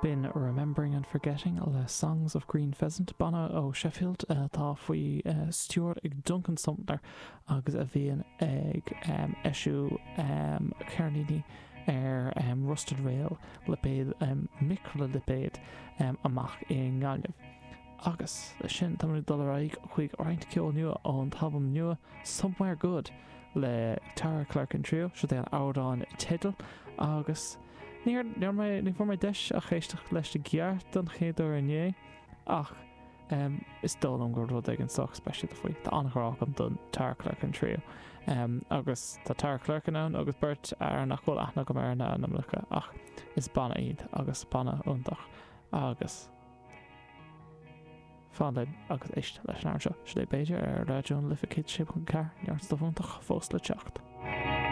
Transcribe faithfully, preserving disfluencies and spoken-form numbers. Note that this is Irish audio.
B'in Remembering and Forgetting le Songs of Green Pheasant banna ó Sheffield atá faoi stiúir ag Duncan Sumner agus a bhíonn ag eisiú ceirníní ar Rusted Rail lipéad micrealipéad amach i nGaillimh. Agus leis sin tá dul ar aghaidh chuig roinnt ceol nua ón t-albam nua Somewhere Good le Tara Clerkin Trio seo é an amhrán teidil agus Ní mé ní fuair mé deis a éisteacht leis i gceart don chéad uair inné ach um, is dóigh liom gur rud éigin sách speisialta faoi Tá an-ghrá agam don Tara Clerkin Trio. Um, agus tá Tara Clerkin ann agus beirt ar nach bhfuil aithne agam ar na hainmneacha ach is banna iad agus banna iontach agus fan linn agus éist leis an seo sé b'fhéidir ar Raidió na Life céad sé ponc ceathair neart stuif iontach fós le teacht.